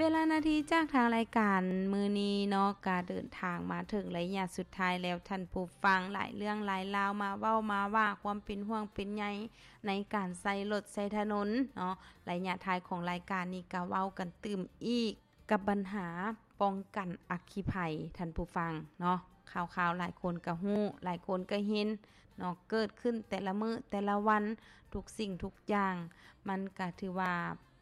ເວລານາທີຈາກທາງລາຍການມື້ນີ້ເນາະ ກະເດີນທາງມາເຖິງໄລຍະສຸດທ້າຍແລ້ວທ່ານຜູ້ຟັງ. ຫຼາຍເລື່ອງຫຼາຍລາວມາເວົ້າມາວ່າຄວາມເປັນຫ່ວງເປັນໃຍໃນການໃຊ້ລົດໃຊ້ຖະໜົນເນາະ. ໄລຍະທ້າຍຂອງລາຍການນີ້ກະເວົ້າກັນຕື່ມອີກກັບບັນຫາປ້ອງກັນອັກຄີໄພທ່ານຜູ້ຟັງເນາະ. ຂ່າວໆຫຼາຍຄົນກະຮູ້ ຫຼາຍຄົນກະເຫັນເນາະ ເກີດຂຶ້ນແຕ່ລະມື້ແຕ່ລະວັນ ທຸກສິ່ງທຸກຢ່າງ ມັນກະຖືວ່າ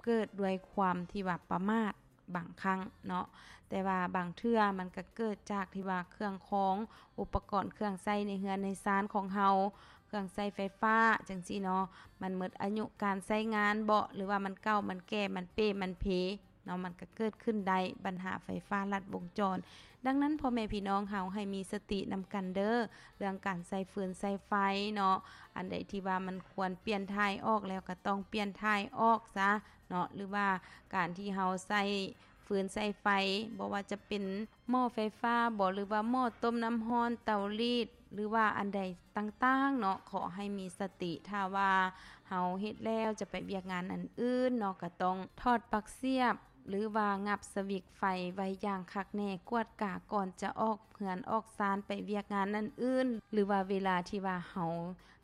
ເກີດດ້ວຍຄວາມທີ່ວ່າປະໝາດບາງຄັ້ງເນາະ, ແຕ່ວ່າບາງເທື່ອມັນກະເກີດຈາກທີ່ວ່າເຄື່ອງຂອງ ອຸປະກອນເຄື່ອງໃຊ້ໃນເຮືອນໃນຊານຂອງເຮົາ ເຄື່ອງໃຊ້ໄຟຟ້າຈັ່ງຊີ້ເນາະ ມັນໝົດອາຍຸການໃຊ້ງານເບາະ ຫຼືວ່າມັນເກົ່າ ມັນແກ່ ມັນເປ່ ມັນເພເນາະ ມັນກະເກີດຂຶ້ນໄດ້ບັນຫາໄຟຟ້າລັດວົງຈອນ. ດັ່ງນັ້ນ ພໍ່ແມ່ພີ່ນ້ອງເຮົາໃຫ້ມີສະຕິນຳກັນເດີ້ ເລື່ອງການໃຊ້ຟືນໃຊ້ໄຟເນາະ, ອັນໃດທີ່ວ່າມັນຄວນປ່ຽນຖ່າຍອອກແລ້ວກະຕ້ອງປ່ຽນຖ່າຍອອກຊະເນາະ ຫຼືວ່າການທີ່ເຮົາໃຊ້ຟືນໃຊ້ໄຟ ບໍ່ວ່າຈະເປັນໝໍ້ໄຟຟ້າບໍ ຫຼືວ່າໝໍ້ຕົ້ມນ້ຳຮ້ອນ ເຕົາລີດ ຫຼືວ່າອັນໃດຕ່າງໆເນາະ ຂໍໃຫ້ມີສະຕິ. ຖ້າວ່າເຮົາເຮັດແລ້ວຈະໄປວຽກງານອັນອື່ນເນາະ ກະຕ້ອງຖອດປັກສຽບ ຫຼືວ່າງັບສະວິກໄຟໄວ້ຢ່າງຄັກແນ່ ກວດກາກ່ອນຈະອອກເຮືອນອອກຊານໄປວຽກງານອັນອື່ນ ຫຼືວ່າເວລາທີ່ວ່າເຮົາ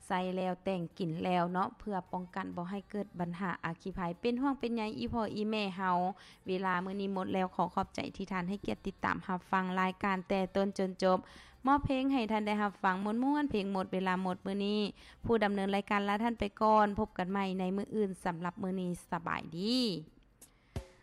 ໃຊ້ແລ້ວແຕ່ງກິນແລ້ວເນາະ ເພື່ອປ້ອງກັນບໍ່ໃຫ້ເກີດບັນຫາອັກຄີໄພ. ເປັນຫ່ວງເປັນໃຍອີ່ພໍ່ອີ່ແມ່ເຮົາ ເວລາມື້ນີ້ໝົດແລ້ວ ຂໍຂອບໃຈທີ່ທ່ານໃຫ້ກຽດຕິດຕາມຮັບຟັງລາຍການແຕ່ຕົ້ນຈົນຈົບ. ມອບເພງໃຫ້ທ່ານໄດ້ຮັບຟັງມ່ວນໆ ເພງໝົດເວລາໝົດມື້ນີ້. ຜູ້ດຳເນີນລາຍການລາທ່ານໄປກ່ອນ ພົບກັນໃໝ່ໃນມື້ອື່ນ. ສຳລັບມື້ນີ້ ສະບາຍດີ.